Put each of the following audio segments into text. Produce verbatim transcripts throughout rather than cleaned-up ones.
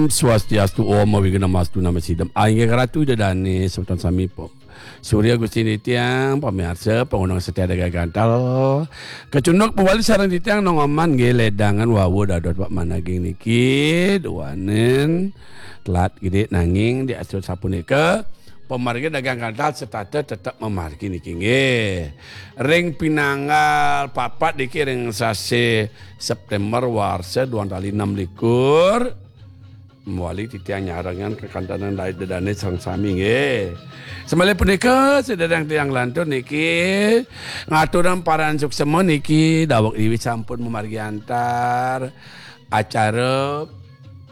Swastiastu, Om Awighnamastu Namo Sidham. Inggih ratu Ida Dane semeton sami, Pak Surya Gusti titiang, pamiarsa, pangundang setia Dagang Gantal. Kacunduk mawali sareng titiang Nong Oman nggih, ledangan wau dados Pak Man ageng niki, duaning telat gedhe nanging diastur sapunika, pamargi Dagang Gantal setata tetep mamargi niki nggih. Ring pinanggal papat niki ring sasi September warsa duang tali enam likur, mawali titiang nyarengan kekantenan Ida Dane sareng sami nggih. Samaliha punika, sedherek tiang lantur niki ngaturang parama suksma niki daweg riwis sampun mamargi antar acara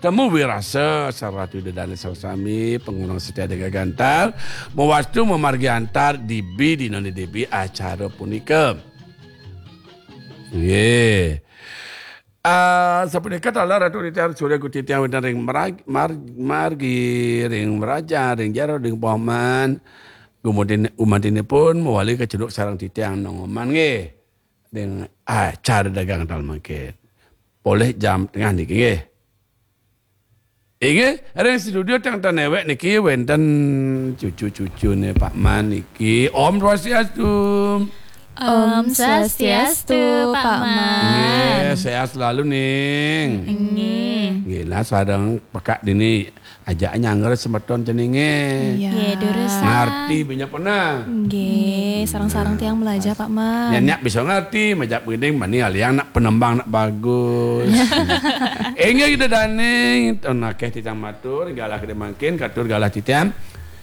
Temu Wirasa sareng Ratu Ida Dane sareng sami, pangundang setia Dagang Gantal, mawastu mamargi antar dibi dina dibi acara punika. Nggih. Ah, sapunika taler Ratu titiang Surya Gusti titiang wenten ring merag-, mar-, margi, ring mrajan, ring jero, ring paman. Gumantin-, gumantinipun mawali kacunduk sareng titiang Nong Oman nggih. Ring acara Dagang Gantal mangkin. Polih jam tengah niki nggih. Inggih, ring studio teng, teng newek niki wenten cucu-cucune Pak Man niki. Om Swastiastu. Om Swastiastu, Pak Man. Nggih, sehat selalu, Ning. Nggih. Nggih, nah, sareng pekak dini ajak nyanggra semeton ceninge. Iya. Nggih, durus. Ngarti banyak pernah. Nggih, sareng-sareng tiang belajar, Pak Man. Nyak bisa ngarti, majak begini, mani aliang nak penembang nak bagus. Inggih Ida Dane, ton akeh titiang matur, galah gedhe mangkin, katur galah titiang.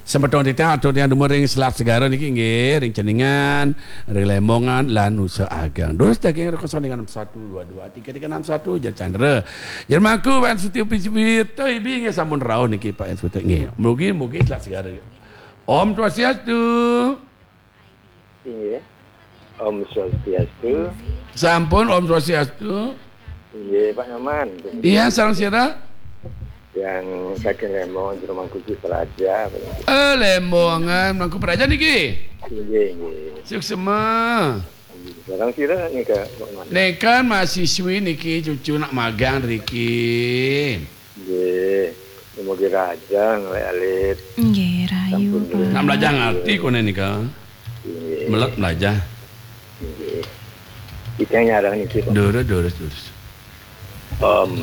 Semeton titiang, atur tiang dumun ring Selat Segara niki nggih, ring Ceningan, ring Lembongan, lan Nusa Ageng. Durus daging ring kosong enam satu dua dua tiga tiga enam satu, Jero Chandra. Jero Mangku, Wan Suti Piswita, ibi nggih sampun rauh niki Pak Wan Suti nggih. Mugi, mugi Selat Segara. Om Swastiastu. Inggih. Om Swastiastu. Sampun, Om Swastiastu. Inggih, Pak Nyoman. Iya, sareng sira? Yang saking Lembong, Jero Mangku Praja. Eh, Lembongan, Mangku Praja niki? Inggih, inggih. Suksma. Sareng sira nika, Pak Nyoman? Nika mahasiswi niki, cucu nak magang riki. Nggih, mugi rahayu nglek alit. Nggih, rahayu, sampun Pak. Nak belajar ngerti kone nika. Nggih. Melek belajar. Nggih. Kita nyarang niki, Pak. Durus, durus, durus. Om